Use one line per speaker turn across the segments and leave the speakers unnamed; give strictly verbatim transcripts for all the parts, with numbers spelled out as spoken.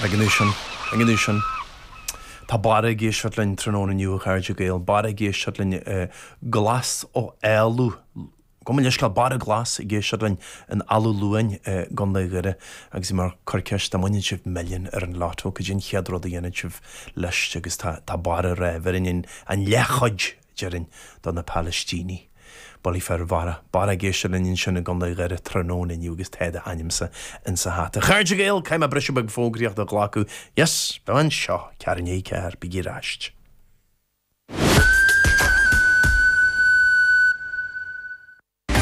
Ag an sin, ag an sin. Tá Barra ag éisteacht linn tráthnóna inniu a chairde Gael, Barra ag éisteacht linn glas ó Éalú. Go mba leisceal Barra Glas ag éisteacht linn in Ealú Luain i gContae Dhoire agus mar cur ceist an mbaineann sibh milliún ar an lotto cad é an chéad rud a dhéanann sibh leis agus tá tá Barra ag rá bhéarfainn an leathchuid déarfainn do na Palaistínigh. Bullaí fer Bharra, Barra ag éisteacht linn ansin i gContae Dhoire tráthnóna inniu agus tá d'ainmse insa hata. Chairde Gael, caithfidh mé briseadh beag fógraíocht a ghlacadh. Yes, beidh anseo, ceathrú i ndiaidh a ceathair, bígí ar ais.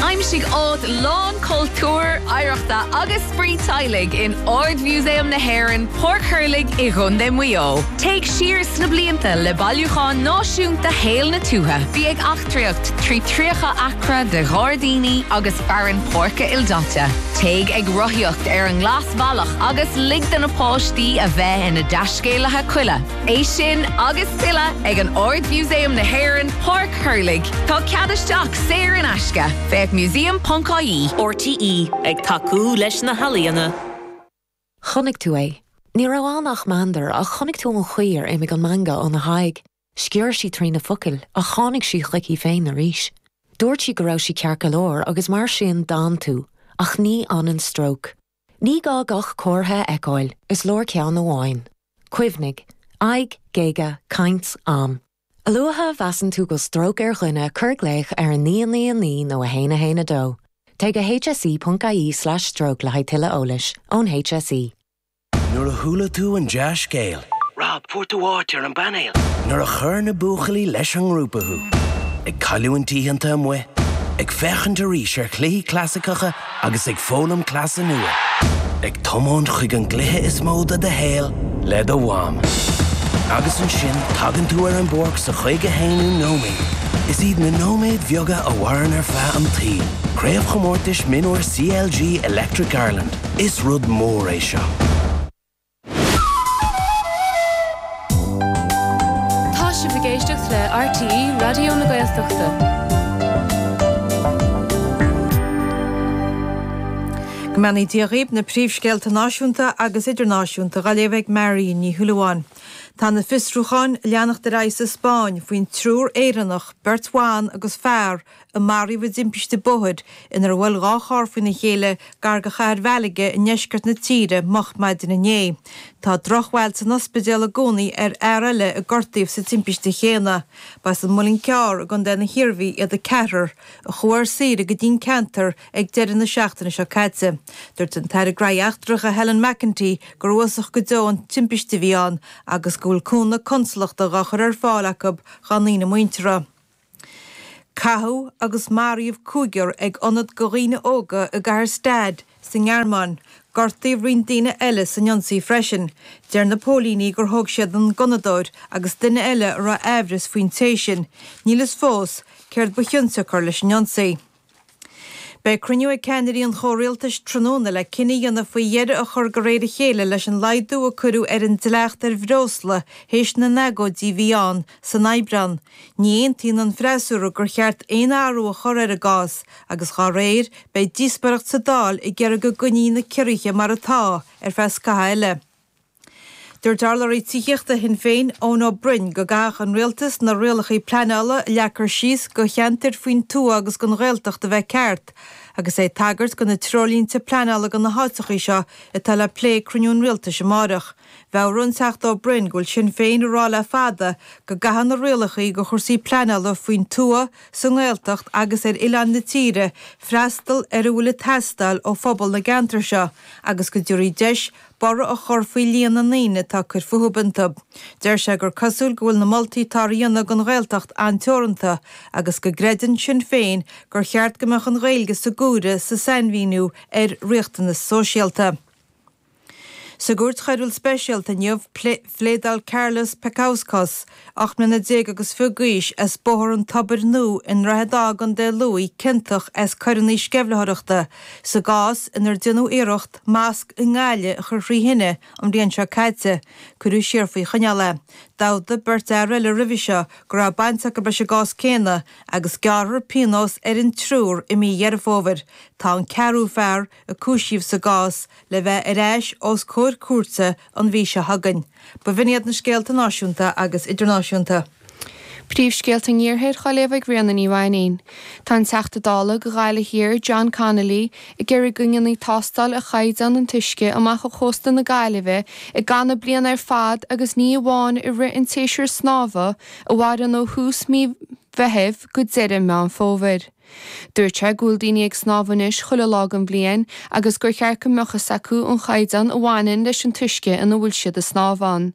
Aimsigh áit lán cultúir, oidhreachta agus spraoi teaghlaigh in Ard-Mhúsaem na hÉireann, Páirc Thurlaigh i gContae Mhaigh Eo. Téigh siar sna blianta le bailiúchán náisiúnta shaol na tuaithe. Bí ag eachtraíocht trí tríocha acra de ghairdíní agus fearann páirce ildaite. Téigh ag rothaíocht ar an nGlasbhealach agus lig do na páistí a bheith ina dtaiscéalaithe coille. É sin agus tuilleadh ag an Ard-Mhúsaem na hÉireann, Páirc Thurlaigh. Tá cead isteach saor in aisce. Féach museum.ie.
RTÉ, ag tacú leis na healaíona.
Chonaic tú é. Ní raibh ann ach meandar ach chonaic tú an chaoi ar imigh an meangadh óna haghaidh. Sciorr sí trí na focail ach tháinig sí chuici féin arís. Dúirt sí go raibh sí ceart go leor agus mar sin d'fhan tú, ach ní fhanann stróc. Ní gá gach comhartha a fheiceáil, is leor ceann amháin. Cuimhnigh, aghaidh, géaga, caint, am. A luaithe a mheasann tú go bhfuil stróc ar dhuine cuir glaoch ar a naoi naoi naoi nó a haon a haon a dó. Téigh go hse.ie slash stroke le haghaidh tuilleadh eolais ón HSE.
Nuair a chuala tú an dea-scéal. Rob, fuair tú áit ar an bpainéal. Nuair a chuir na buachaillí leis an ngrúpa thú. Ag cailliúint oícheanta amuigh, ag féachaint arís ar chluichí clasaiceacha agus ag foghlaim cleasa nua. Ag tiomáint chuig an gcluiche is mó de do shaol le do mham. Agus ansin tagann tú ar an bpáirc sa chaoga haonú nóiméad. Is iad na nóiméid bheaga a mhaireann ar feadh an tsaoil. Craobhchomórtais Mionúir CLG Electric Ireland. Is rud mór é seo.
Tá sibh ag éisteacht le RTÉ Raidió na Gaeltachta.
Go mbeannaí Dia dhaoibh, na príomhscéalta náisiúnta agus idirnáisiúnta á léamh ag Mary Ní Shúilleabháin. Tá na fiosrúcháin ag leanacht ar aghaidh sa Spáinn faoin triúr Éireannach, beirt bhan agus fear, a maraíodh i dtimpiste bóthair inar bhuail dhá charr faoina chéile gar do chathair Mhalaga i ndeisceart na tíre moch maidin inné. Tá drochbhail san ospidéal i gcónaí ar fhear eile a gortaíodh sa timpiste chéanna. Ba as an Muileann Cearr i gContae na hIarmhí iad an ceathrar, a chuaigh ar saoire go dtí an ceantar ag deireadh na seachtaine seo caite. Dúirt an tAire Graithí Eachtracha Helen McEntee gur uafásach go deo an timpiste a bhí ann agus go bhfuil cúnamh consalachta dhá chur ar fáil acu dá ndaoine muinteartha. Caitheadh agus maraíodh cúigear ag ionad do dhaoine óga i gcathair Stade sa nGearmáin. Gortaíodh roinnt daoine eile san ionsaí freisin. Deir na póilíní gur thóg siad an gunnadóir agus duine eile a raibh aimhreas faoin té sin. Níl fhios fós céard ba chionsiocair leis an ionsaí. Beidh cruinniú ag ceannairí an chomhrialtais tráthnóna le cinneadh a dhéanamh faoi dheireadh a chur de réir a chéile leis an laghdú a cuireadh ar an dleacht ar bhreosla théis na n-agóidí a bhí ann san Aibreán. Ní aontaíonn an freasúra gur cheart aon athrú a chur ar an gcás agus dá réir beidh díospóireacht sa Dáil ag iarraidh go gcoinneofaí na ciorruithe mar atá ar feadh scaitheamh eile. Dúirt urlabhraí tithíochta Shinn Féin, Eoin Ó Broin, go gcaithfeadh an rialtas na rialacha pleanála a leagtar síos do cheantair faoin tuath agus don Ghaeltacht a bheith ceart, agus é ag tagairt do na treoirlínte pleanála do na háiteacha seo atá le plé ag cruinniú an rialtais amárach. Mheabhraigh an Teachta Ó Broin go bhfuil Sinn Féin ag rá le fada go gcaithfidh na rialacha do chúrsaí pleanála faoin tuath, sa nGaeltacht agus ar oileáin na tíre freastal ar a bhfuil ag teastáil ó phobal na gceantar seo agus go dtabharfaí deis borradh a chur faoi líon na ndaoine atá ag cur fúthu iontu. Deir sé gur cosúil go bhfuil na moltaí atá á dhéanamh don Ghaeltacht an-teoranta agus go gcreideann Sinn Féin gur cheart go mbeadh an Ghaeilge sa gcomhaireamh sa sainmhíniú ar riachtanas sóisialta. Sa gCúirt Choiriúil Speisialta inniu, phléadáil Carlos Pekauskas, ocht mbliana déag agus fiche d'aois, as Bóthar an Tobair Nua i nDroichead Átha i gContae Lú, ciontach as coireanna sceimhlitheoireachta sa gcás inar déanadh iarracht masc i nGaillimh a chur thrí thine an bhliain seo caite. Cuireadh siar faoi choinneáil é. D'admhaigh beirt fhear eile roimhe seo go raibh baint acu leis an gcás céanna agus gearrfar pionós ar an triúr i mí Dheireadh Fómhair. Tá an ceathrú fear a cúisíodh sa gcás le bheith ar ais os comhair comhair cúirte an mhí seo chugainn. B'in iad na scéalta náisiúnta agus idirnáisiúnta.
Príomhscéalta an Iarthair á léamh ag Ríona Ní Mhainín. Tá an Teachta Dála do Ghaillimh Thiar John Connolly ag iarraidh go ndéanfaí tástáil ar chaighdeán an t-uisce amach ó chósta na Gaillimhe i gcaitheamh na bliana ar fad agus ní amháin i rith an tséasúir snámha a mhaireann ó thús mí Mheithimh go deireadh Meán Fómhair. Dúirt sé go bhfuil daoine ag snámh anois chuile lá den bhliain agus gur cheart go mbeadh fhios acu an chaighdeán a bhaineann leis an t-uisce ina bhfuil siad ag snámh ann.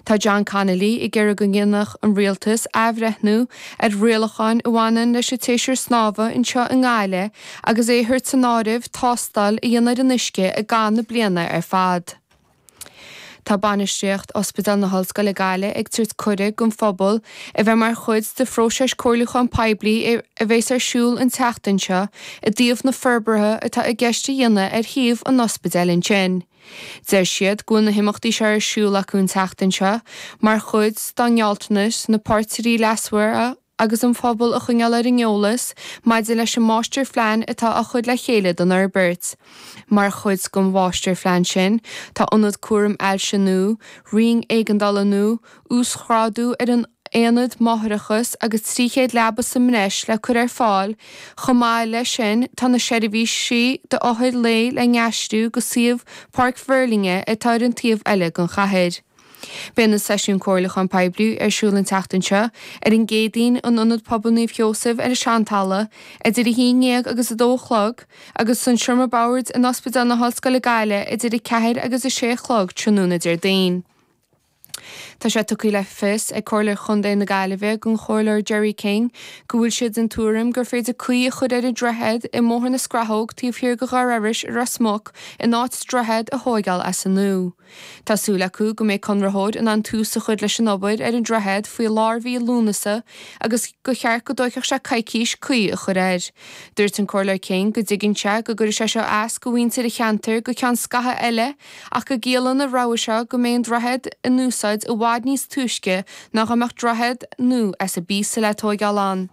Tá John Connolly ag iarraidh go ndéanfadh an rialtas athbhreithniú ar rialacháin a bhaineann leis an tséasúr snámha anseo i nGaillimh agus é a thabhairt san áireamh tástáil a dhéanamh ar an uisce i gcaitheamh na bliana ar fad. Tá bainistíocht Ospidéal na hOllscoile Gaillimh ag tabhairt cuireadh don phobal a bheith mar chuid de phróiseas comhairliúcháin poiblí a bheas ar siúl an tseachtain seo i dtaobh na forbartha atá i gceist a dhéanamh ar shuíomh an ospidéil ansin. Deir siad go bhfuil na himeachtaí seo ar siúl acu an tseachtain seo mar chuid dá ngealltanas na páirtithe leasmhara agus an phobal a choinneáil ar an eolas maidir leis an máistirphlean atá á chur le chéile don fhorbairt. Mar chuid den mháistirphlean sin, tá ionad cúraim ailse nua, roinn éigeandála nua, uasghrádú ar an aonad máithreachais agus trí chéad leaba sa mbreis le cur ar fáil, chomh maith leis sin tá na seirbhísí d'othair lae le n-aistriú go suíomh Páirc Mheirlinne atá ar an taobh eile den chathair. Beidh na seisiúin comhairliúcháin poiblí ar siúl an tseachtain seo ar an gCéadaoin in Ionad Pobail Naomh Sheosaimh ar an Seantalamh idir a haon déag agus a dó a chlog agus san Seomra Boird in Ospidéal na hOllscoile Gaillimh idir a ceathair agus a sé a chlog tráthnóna Déardaoin. Tá sé tugtha le fios ag Comhairle Chontae na Gaillimhe don Chomhairleoir Jerry King go bhfuil siad den tuairim gur féidir caoi a chur ar an droichead i mBóthar na Scrathóg taobh thiar de Dhoire Iorrais i Ros Muc in áit droichead a thóigeáil as an nua. Tá súil acu go mbeidh conraitheoir in ann tús a chur leis an obair ar an droichead faoi lár mhí Lúnasa agus gur cheart go dtógfadh sé coicís caoi a chur air. Dúirt an Comhairleoir King go dtuigeann sé go gcuirfidh sé seo as do mhuintir an cheantair go ceann scaithimh eile ach go gciallaíonn an rogha seo go mbeidh an droichead in úsáid i bhfad níos túisce ná go mbeadh droichead nua as an bpíosa le tóigeáil ann.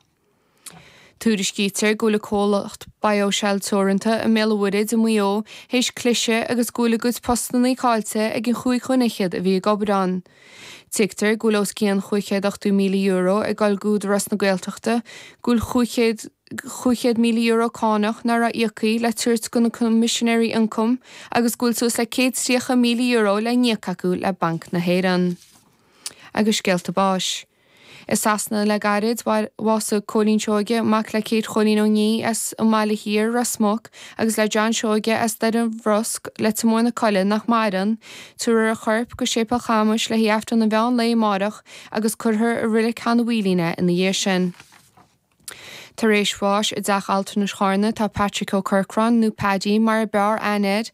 Tuairiscítear go bhfuil an comhlacht BioShell Teoranta i mBéal an Mhuirthead i Maigh Eo théis cliseadh agus go bhfuil a gcuid postanna caillte ag an chúig dhuine fhichead a bhí ag obair ann. Tuigtear go bhfuil os cionn chúig chéad ochtó míle euro ag dul d'Údarás na Gaeltachta, go bhfuil chúig chéad chúig chéad míle euro cánach nach raibh íoctha le tabhairt do na Coimisinéirí Ioncaim agus go bhfuil suas le céad tríocha míle euro le n-íoc acu le Banc na hÉireann. Agus scéalta báis. I Sasana le gairid bhásaigh Cóilín Seoige, mac le Kate Chóilín Ó Ní as an mBaile Thiar, Ros Muc, agus le John Seoige as Doire an Bhrosc, Leitir Móir na Coille, nach maireann. Tabharfar a chorp go Séipéal Chamuis le haghaidh Aifreann an mheán lae amárach agus cuirfear i Reilig Sheán an Mhaoilín é ina dhiaidh sin. Tar éis bháis i dteach altranais Charna tá Patrick Ó Corcráin nó Paddy mar a b'fhearr aithne air,